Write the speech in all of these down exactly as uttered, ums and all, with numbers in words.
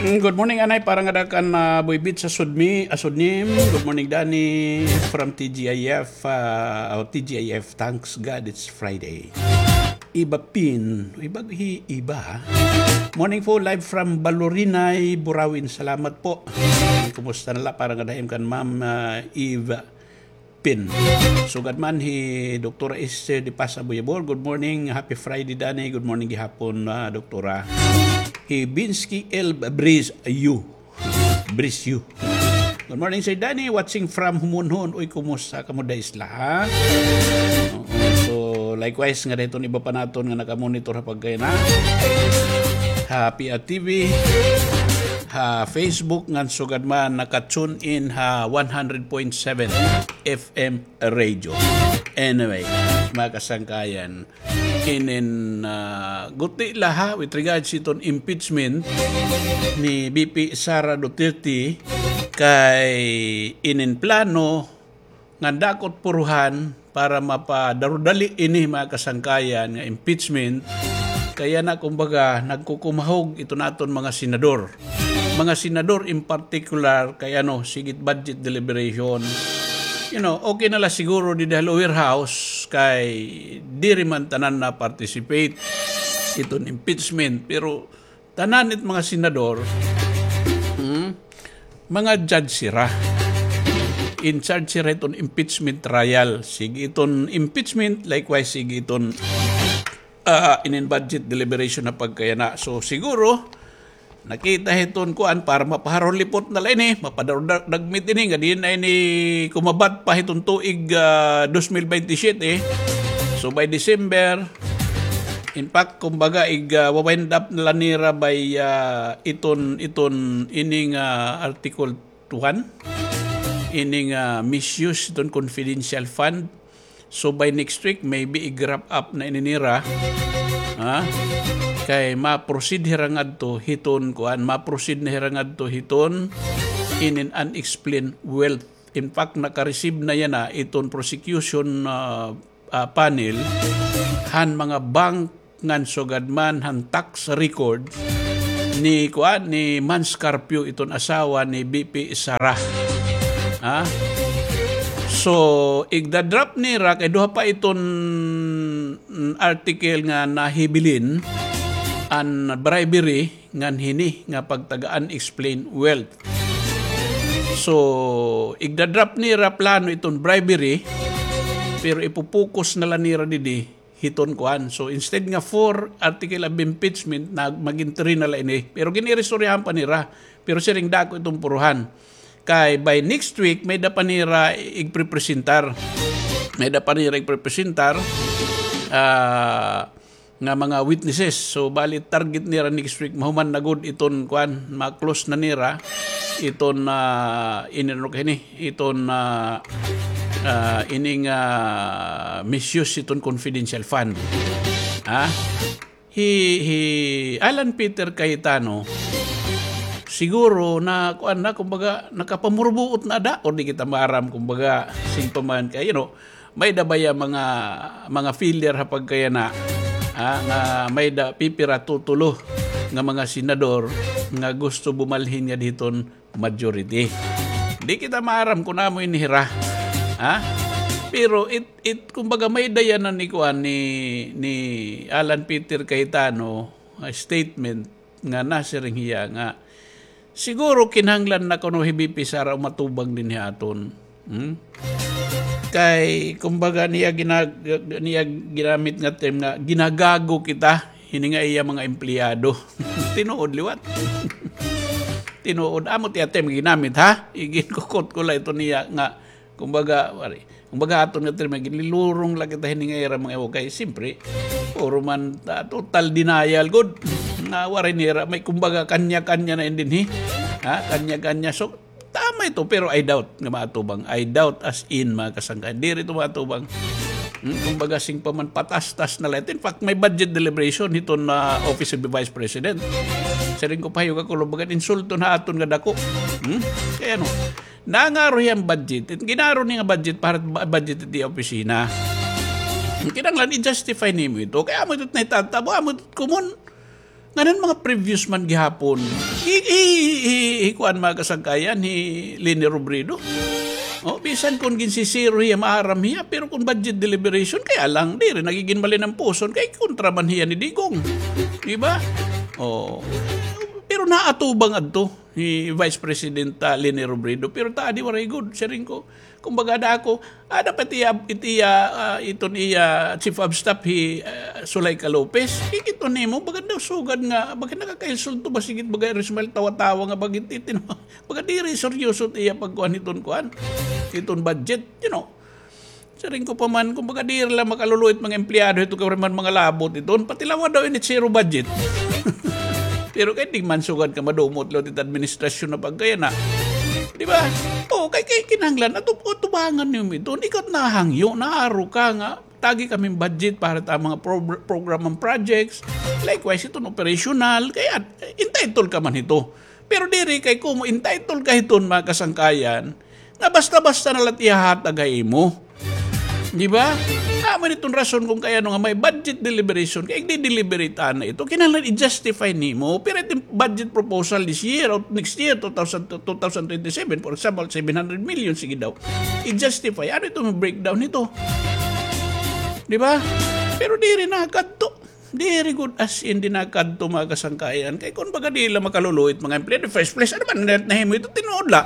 Good morning, Anay. Para ngada kan, ah, Boy Beat sa Sudmi, ah, Sudnim. Good morning, Danny from T G I F. Ah, oh, T G I F, thanks God it's Friday. Iba Pin. Iba, hi, iba, ha? Morning po, live from Balorinay, Burawin. Salamat po. Kumusta na la? Para ngada ha im kan Ma'am, ah, Eve Pin. Sugad man hi Doktora Esther de Paz Aboyabor. Good morning. Happy Friday, Danny. Good morning gihapon, ah, Doktora. Hi Binsky L. Breeze, you. Breeze, you. Good morning, Sir Danny. Watching from Humunhon. Uy, kumusta kamo da isla, ha? Oo. So, likewise, ngada hiton iba pa naton nga nakamonitor ha pagkayana. Ha P I A T V, ha Facebook, ngan sugad man naka-tune in ha one hundred point seven F M radio. Anyway, mga kasangkayan, inin, ah, guti la ha, with regards hiton impeachment ni V P Sara Duterte, kay inin plano nga dako it puruhan para mapadarudali ini, mga kasangkayan, nga impeachment, kay yana, kumbaga, nagkukumahog iton aton mga senador. Mga senador in particular, kay ano, sige it budget deliberation. You know, okay na la siguro didi ha lower house, kay diri man tanan na-participate iton impeachment. Pero tanan it mga senador, hmm, mga judge sira. In charge sira iton impeachment trial. Sige iton impeachment, likewise, sige iton, ah, inin budget deliberation ha pagkayana. So, siguro, nakita hiton kuan para mapaharulipot na la ini, mapadarudagmit ini, nga diin na ini kumabat pa hiton tuig, ah, dos mil bente siyete. So, by December, in fact, kumbaga, ig, ah, wa-wind up na la nira by, ah, iton, iton, ining, ah, Article one, ining, ah, misuse iton confidential fund. So, by next week, maybe ig-wrap up na ini nira. Ha? Kay ma-proceed hira ngadto hiton, kuan, ma-proceed na hira ngadto hiton inin unexplained wealth. In fact, naka-receive na yana iton prosecution, ah, ah, panel han mga bank ngan sugad man han tax record ni, kuan, ni Mans Carpio, iton asawa ni V P Sara. Ha? So, igda-drop nira kay duha pa iton, mm, article nga nahibilin, an bribery ngan hini nga pagtaga unexplained wealth. So, igda-drop nira plano iton bribery, pero ipo-focus na la nira didi hiton kuan. So, instead nga four article of impeachment, nag-, magin three na la ini. Pero gin-iristoryahan pa nira. Pero siring dako iton puruhan. Kay by next week, may-ada pa nira igprepresentar. May-ada pa nira igprepresentar, ah, nga mga witnesses. So, bali target nira next week, mahuman na gud iton kuan, ma-close na nira iton, ah, inano kay hini, iton, ah, ah, ining, ah, misuse iton confidential fund. Ha? Hi, hi Alan Peter Cayetano, siguro na, kuan na, kumbaga, nakapamurbuot na ada, or di kita maaram, kumbaga, sing pa man kay, you know, may-ada baya mga, mga failure ha pagkayana, ha, nga may-ada pipira, tutulo nga mga senador nga gusto bumalhin ngada hiton majority. Di kita maaram kun ano ini hira. Ha? Pero it, it, kumbaga, may-ada yana ni kuan ni, ni Alan Peter Cayetano, ah, statement nga nasiring hiya nga siguro kinahanglan na kuno hi V P Sara umatubang dinhi ha aton. Hmm? Kay, kumbaga, niya gina-, niya ginamit nga term nga ginagago kita hini nga iya mga empleyado. Tinuod liwat. Tinuod. Amo it iya term ginamit, ha? Iginkukot ko la ito niya nga, kumbaga, wari. Kumbaga, aton nga term, ginlilurong la kita hini nga ira mga iwo kay, siyempre, puro man, ah, total denial gud. Nga waray nira, may kumbaga, kanya-kanya na in dinhi. Ha? Kanya-kanya. So, tama ito, pero I doubt nga maatubang. I doubt as in, mga kasangkayan. Diri ito maatubang. Hmm, kumbaga, sing pa man patastas na la ito. In fact, may budget deliberation hiton Office of the Vice President. Siring ko, pahayag ako, kumbaga, insulto na aton nga dako. Hmm? Kay ano, nangaro hiya hin budget. It ginaro niya nga budget para ba-, budget it iya opisina. Kinahanglan i-justify nimo ito. Kay amo ito nahitatabo, amo ito common. Ngan an mga previous man gihapon, hi, hi, hi, hi kuan, mga kasangkayan, hi Leni Robredo. O, bisan kon ginsisiro hiya, maaram hiya, pero kon budget deliberation, kay alang, diri na gud malinampuson, kay kontra man hiya ni Digong. Di ba? O, pero naatubang adto ni Vice President, ah, Leni Robredo, pero ta adi waray gud, siring ko. Kumbaga, ada ako, ada pa it iya, it iya, ah, iton iya chief of staff, hi, ah, Zuleika Lopez. Kikit-on nimo, baga daw sugad nga, baga nakakainsulto ba, sige, baga Rismar, tawa-tawa nga, baga it-, itin-, baga diri seryoso it iya pagkuan hiton kuan, hiton budget, you know. Siring ko pa man, kumbaga diri la makaluluoy it mga empleyado hito, kay waray man mga labot iton, pati lawa daw ini zero budget. Pero kay di man sugad ka madumot liwat it administrasyon na pagkayana. Di ba? O, kay, kay kinahanglan, atu-, atubangan niyo iton. Ikaw it nahangyo, naaro ka nga, tagi kami budget para ta mga pro-, program and projects. Likewise, iton operational. Kay at, entitled ka man hito. Pero diri kay kumo entitled ka hiton, mga kasangkayan, nga basta-basta na la it ihahatag ha imo. Di ba? Amo ini iton rason kon kay ano nga may budget deliberation, kay igdi-deliberate ana ito. Kinahanglan i-justify nimo. Pero iton budget proposal this year or next year, two thousand, two thousand twenty-seven, for example, seven hundred million, sige daw. I-justify. Ano ito, breakdown nito? Di ba? Pero diri na kadto. Diri gud as in di na kadto, mga kasangkayan. Kay kon baga di la makaluluoy it mga empleyado, first place, ano man na-, nahimo ito, tinuod la.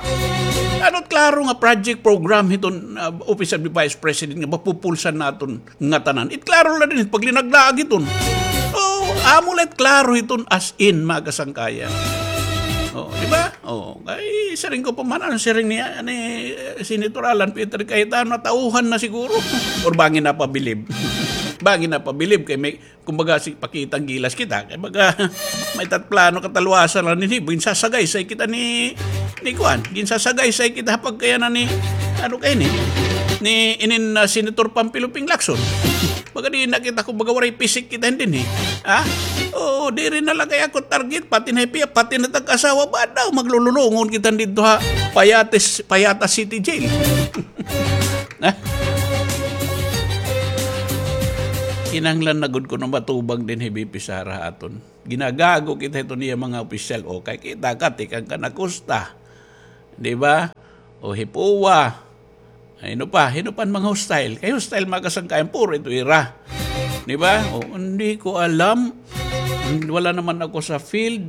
Ano it klaro nga project program hiton, ah, Office of the Vice President nga mapupulsan naton ngatanan? It klaro la dinhi it paglinaglaag hiton. O, amo la it klaro hiton as in, mga kasangkayan. O, di ba? O, kay siring ko pa man, ano siring ni, ni, eh, Senator Alan Peter Cayetano, natauhan na siguro. Or bangin napabilib. Bangin napabilib kay may Kumbaga, si, pakita an gilas kita. Kay baga, may tatplano kataluasan la dinhi. Ginsasagaysay kita ni, ni kuan. Ginsasagaysay kita ha pagkayanan ni, ano kay ni, ni inin, ah, Senator Panfilo Ping Lacson. Baga di na kita, kumbaga, waray pisik kita dinhi. Ha? Oo, diri na la kay ako target, pati na hipiya, pati na tag-asawa, ba daw maglululungon kita didto ha Payates, Payata City Jail. Ha? Kinahanglan na gud kuno matubag dinhi hi V P Sara ha aton. Ginagago kita hiton iya mga opisyal. O, kay kita ka, tikang ka na kusta. Di ba? O, hi POA. Ay, hin-o pa, hin-o pa an mga hostile. Kay hostile, mga kasangkayan, puro ito ira. Di ba? O, hindi ko alam. Wala naman ako sa field.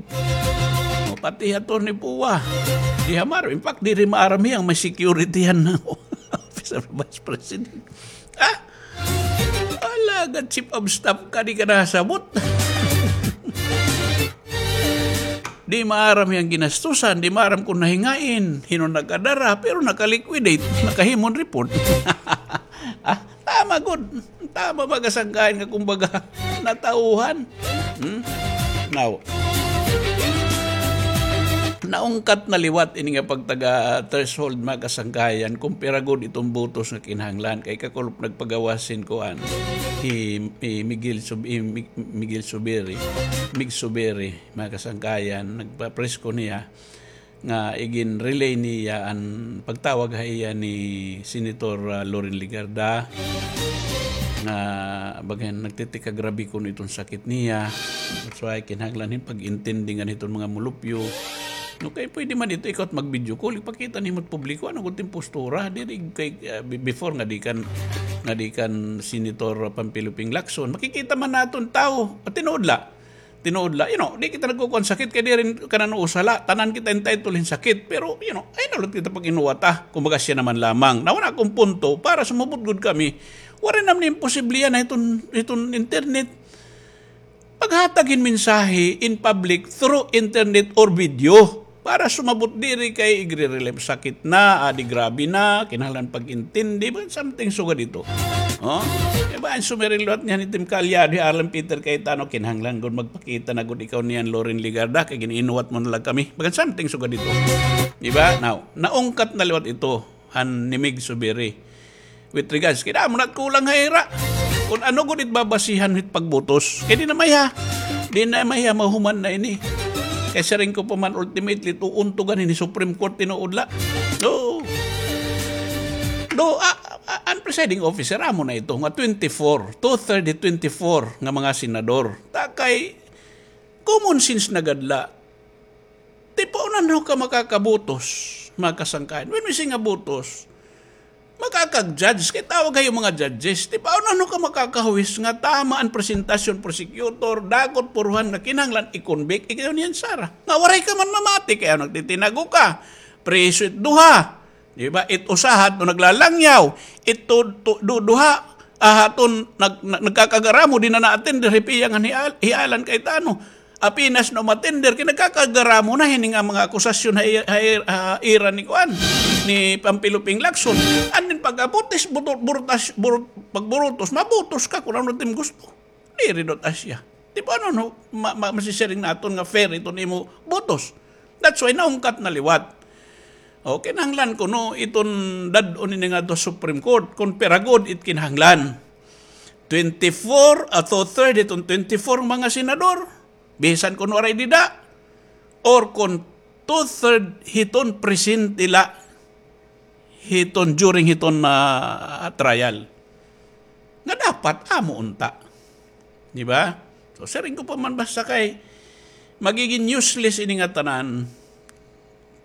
O, pati hi Attorney POA. Di hamaro. In fact, diri maaram hiya nga may security han Office of the Vice President. Ah? Alagad chief of staff ka, di ka nasabot. Di maaram hiya an ginastusan, di maaram kon nahingain, hin-o nakadara, pero naka-liquidate, nakahimo hin report. Ah, tama gud. Tama, mga kasangkayan, nga kumbaga, natauhan. Hmm? Now, naungkat na liwat ini nga pagtaga threshold, mga kasangkayan, kumpara gud iton botos nga kinahanglan. Kay kakulop nagpagawas hin kuan, hi, hi Miguel Sub-, hi Mig-, Miguel Subiri, Mig Subiri, mga kasangkayan, nagpa-press con hiya nga igin-relay niya an pagtawag ha iya ni Senator, ah, Loren Legarda, nga bagan nagtitikagrabe kuno iton sakit niya. That's why kinahanglan hin pag-intindi ngan hiton mga mulupyo. No, kay pwede man ito, ikaw it mag-video call, ipakita nimo it publiko, ano gud it im postura, diri kay, ah, be-, before nga di kan, nga di kan Senator Panfilo Ping Lacson. Makikita man naton tawo, at tinuod la. Tinuod la, you know, di kita nagkukuan sakit kay diri kanan usa la, tanan kita entitled hin sakit. Pero, you know, ay na ulit kita pag-inuwata. Kumbaga, siya naman lamang. Nauna akong punto, para sumabot gud kami, waray naman imposible yana hiton, hiton internet. Paghatag hin mensahe in public through internet or video. Para sumabot diri kay igre-relieve sakit na, adi grabe na, kinahanglan pag-intindi, bagan something sugad ito. Oh? Kay bagan sumiring liwat niyan itim kaalyado hi Alan Peter Cayetano, kinahanglan gud magpakita na gud ikaw niyan, Loren Legarda, kay gin-inuwat mo na la kami. Bagan something sugad ito. Di ba? Now, naungkat na liwat ito, han ni Mig Subiri. With regards, kay damo na it kulang ha ira. Kon ano gud it babasihan hit pagbotos. Kay di na mahiya. Di na mahiya mahuman na ini. Kay siring ko pa man, ultimately, it uuntugan hini Supreme Court, tinuod la. So, do, ah, ah, an presiding officer, amo na ito, nga twenty-four, two-third, twenty-four nga mga senador. Ta kay, Common sense na gad la. Ti paano ka makakabutos, mga kasangkayan? When we say nga butos, makakag-judge, kay tawag kayo mga judges. Ti paano ka makakahuwis nga tama an presentasyon, prosecutor, dakot puruhan nga kinahanglan i-convict, ikaw niyan, Sara. Nga waray ka man mamati, kay ano nagtitinago ka? Preso it duha. Di ba? It usa haton naglalangyaw. It tu-, tu-, du-, duha, ah, haton nag-, nag-, nagkakagaramo, di na na-attender, hipiya nga hi Al-, hi Alan Cayetano. Apenas na umatender, kay nagkakagaramo na hini nga mga akusasyon ha i-, ha i-, ha ira ni kuan, ni Panfilo Ping Lacson. And then pag-abot is buto-, burutas-, burut-, pagburutos, mabutos ka kung ano it im gusto. Diri daw ta siya. Di ba, ano, no? Ma-, ma-, masisiring naton nga fair iton imo butos. That's why naungkat na liwat. O, kinahanglan kuno iton dad-on ini ngadto Supreme Court, kon pira gud it kinahanglan. Twenty-four, ah, two-third iton twenty-four mga senador, bisan kuno waray dida, or kon two-third hiton presente la hiton, during hiton, ah, trial. Nga dapat amo unta. Di ba? So, siring ko pa man, basta kay magiging useless ini nga tanan.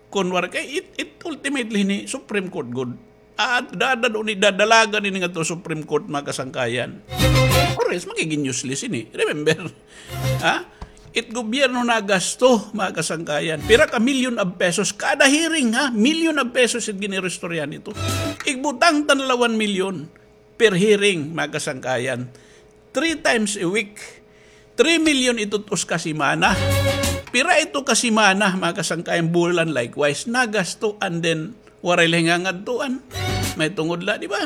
Kun wara kay it, it ultimately ni Supreme Court gud. Ah, dadad-on ni, dadalagan ini ngadto Supreme Court, mga kasangkayan. Or else, magiging useless ini. Remember, ha? It gobyerno nagasto, mga kasangkayan. Pira ka million of pesos kada hearing, ha? Million of pesos it giniristorya nito. Igbutang ta na la one million per hearing, mga kasangkayan. Three times a week. Three million ito usa ka semana. Pira ito ka semana, mga kasangkayan, bulan likewise. Nagasto and then waray la hingangadtuan. May tungod la, di ba?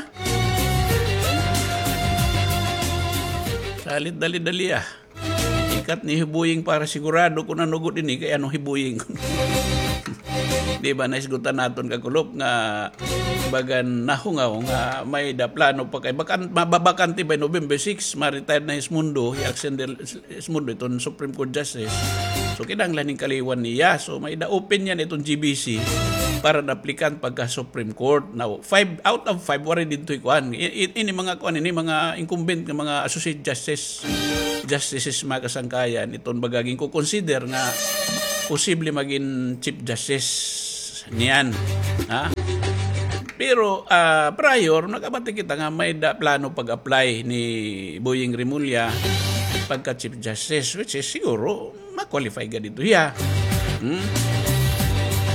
Salit dali-dali, ah. Ikat ni Hibuying para sigurado kun ano gud ini, kay ano Hibuying. Di ba, naisgutan naton kakulop nga bagan nahungaw nga may-ada plano pa kay bakan-, mababakante by November six, ma-retire na hi Esmundo, hi Axel Esmundo, iton Supreme Court Justice. So, kinahanglan ning kaliwan niya. So, may-ada open niyan iton G B C para na-applicant pagka Supreme Court. Now, five out of five, waray didto hi kuan. I-, i-, ini mga kuan, ini mga incumbent nga mga associate justice, justices, mga kasangkayan. Iton baga ginko-consider nga posible magin Chief Justice niyan. Ha? Pero, ah, prior, nakabati kita nga may-ada plano pag-apply ni Boying Remulla pagka Chief Justice, which is siguro ma-qualify gad ito hiya. Hmm?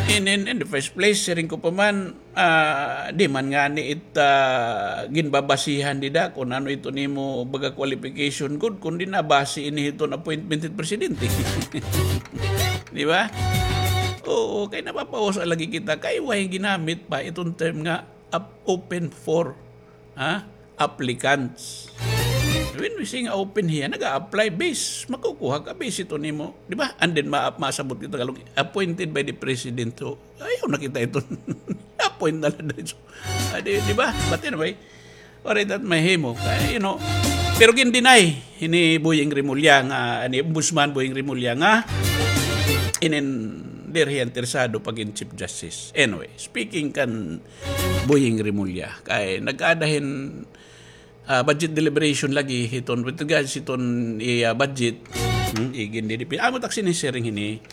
In, in, in the first place, siring ko pa man, ah, di man ngani it, ah, ginbabasihan dida kun ano ito nimo baga qualification gud, kundi nabasi ini hiton appointment hit presidente. Di ba? Oo, kay napapahusa lagi kita kay way ginamit pa iton term nga ap-, open for, ha, applicants. When we say nga open hiya, nag-a-apply base, makukuha ka base ito nimo, di ba? And then ma-, masabot kita kalong appointed by the president. So, ayaw na kita ito. Appoint na lang dito. Ah, di, di ba? But anyway, waray that mahimo. Kay, you know, pero gin-deny hini Boying Remulla nga, ani, Ombudsman Boying Remulla nga, inin diri hiya interesado pagin Chief Justice. Anyway, speaking kan Boying Remulla, kay nagkaada hin, ah, budget deliberation lagi hiton with regards hiton iya budget. Hmm, igin didi pi-, amo tak sinisiring hini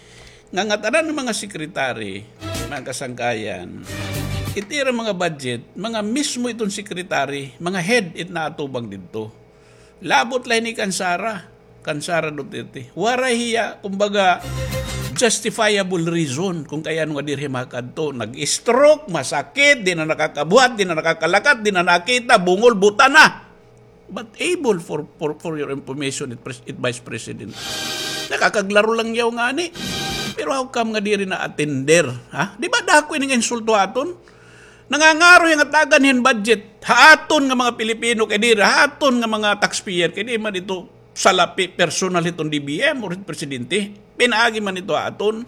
nga ngatanan nga mga secretary, mga kasangkayan, it ira mga budget, mga mismo iton secretary, mga head it naatubang didto. Labot la hini kan Sara, kan Sara Duterte. Waray hiya, kumbaga, justifiable reason kung kay ano nga diri makadto. Nag-stroke, masakit, di na nakakabuhat, di na nakakalakat, di na nakita, bungol, buta na. But able for, for, for your information, it, pres-, it Vice President. Nakakaglaro lang yaw ngani. Pero how come nga diri na-attender? Ha? Di ba dako ini nga insulto aton? Nangangaro hiya nga tagan hin budget ha aton nga mga Pilipino, kay diri ha aton nga mga taxpayer, kay di man ito salapi personal hiton D B M or presidente. Pinaagi man ito ha aton.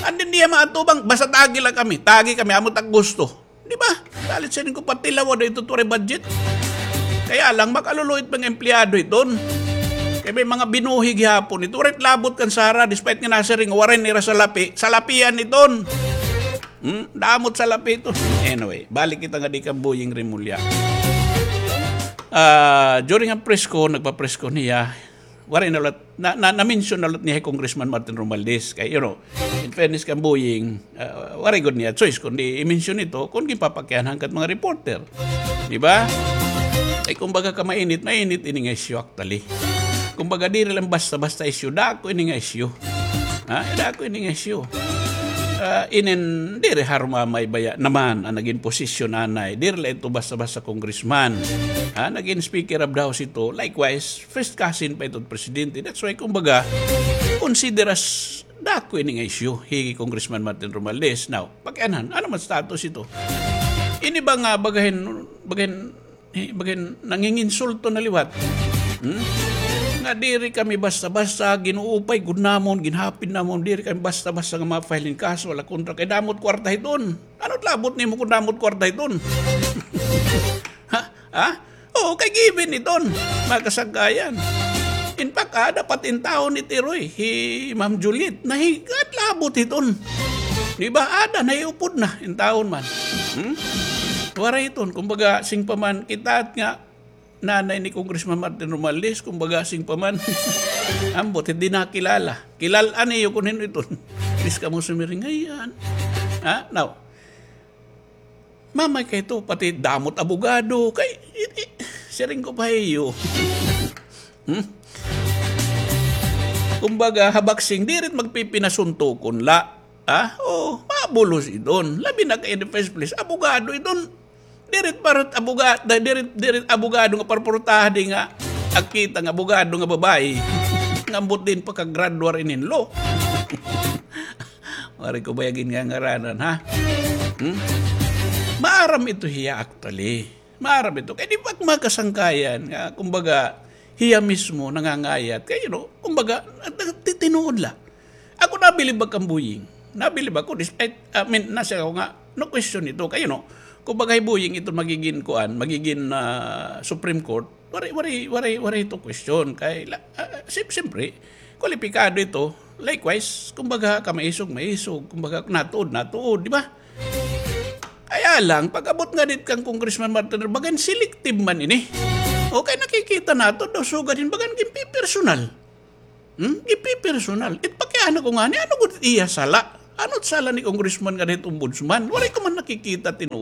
And then diha maatubang, basta tagi lang kami, tagi kami, amo tak gusto. Di ba? Dalit siring ko patilawa da ito turay budget. Kaya lang, makaluluit mga empleyado iton. Kay may mga binuhi gihapon ito. Waray labot kan Sara, despite nga nasiring, waray nira salapi, salapian iton. Hmm? Damot salapi ito. Anyway, balik kita nga di kan Boying Remulla. Ah, during ang press ko, nagpa-press ko niya, Waray na liwat, na, na, na-mention na liwat niya hi Congressman Martin Romualdez. Kay, you know, in fairness kan Boying, ah, waray gud niya choice kundi i-mention ito kon ginpapakianhan ka hit mga reporter. Di ba? Ay, kumbaga ka mainit, mainit ini nga isyu actually. Kumbaga, diri la basta-basta isyu, dako ini nga isyu. Ha? Dako ini nga isyu. Ah, inin, diri harumamay baya naman an nagin posisyon anay. Diri la ito basta-basta congressman. Ha? Nagin Speaker of the House ito. Likewise, first cousin pa ito presidente. That's why, kumbaga, consider as dako ini nga isyu hi Congressman Martin Romualdez. Now, pakianhan, ano man status ito? Ini ba nga bagahin, bagahin, eh, bagahin nanginginsulto na liwat? Hmm? Nga diri kami basta-basta, ginuupay gud namon, ginhapid namon, diri kami basta-basta nga ma-file hin kaso, wala kontra kay damo it kwarta hiton. Ano it labot nimo kon damo it kwarta hiton? Ha? Ha? Oo, kay given iton, mga kasangkayan. In fact, aada pa it intawon ni Tiroy, hi Ma'am Juliet, nahiga it labot hiton. Di ba, aada, nahiupod na, intawon man. Hmm? Waray iton, kumbaga, sing pa man, kita nga nanay ni Congressman Martin Romualdez, kumbaga, sing pa man, ambot, hindi nakilala. Kilal-an niyo kon hin-o iton. Please kamo sumiring, ayan. Ha? Now, mamay kay ito, pati damo it abogado, kay, i-, i-, siring ko pa ha iyo. Hmm? Kumbaga, ha boxing, diri it magpipinasuntukon la. Ha? O, mabulos iton. Labi na kay in the first place, abogado iton. Diri it para it aboga-, diri it, diri it abogado nga para portaha di nga agkita nga abogado nga babaye. Nga ambot diin pakagraduar inin law. Waray ko baya gingangaranan, ha? Hmm? Maaram ito hiya, actually. Maaram ito. Kay di ba, mga kasangkayan, nga, kumbaga, hiya mismo nangangayat. Kay, you know, kumbaga, nagtitinuod la. Ako, nabilib ako kan Boying. Nabilib ako, despite, I mean, nasiring ako nga, no question ito. Kay, you know, kumbaga, hi Boying ito magigin kuan, magigin, ah, Supreme Court. Waray, waray, waray, waray ito question. Kay, la-, ah, sim-, siyempre, kwalipikado ito. Likewise, kumbaga, kamaisog, maisog. Kumbaga, natuod, natuod, di ba? Kaya lang, pag-abot ngada hit kan Congressman Martin, bagan selective man ini. O, kay nakikita naton daw, sugad hin bagan ginpipersonal. Hmm? Ginpipersonal. It pakiana ko ngani, ano gud iya sala? Ano it sala ni Congressman ngada hit ombudsman? Waray ko man nakikita tinuod.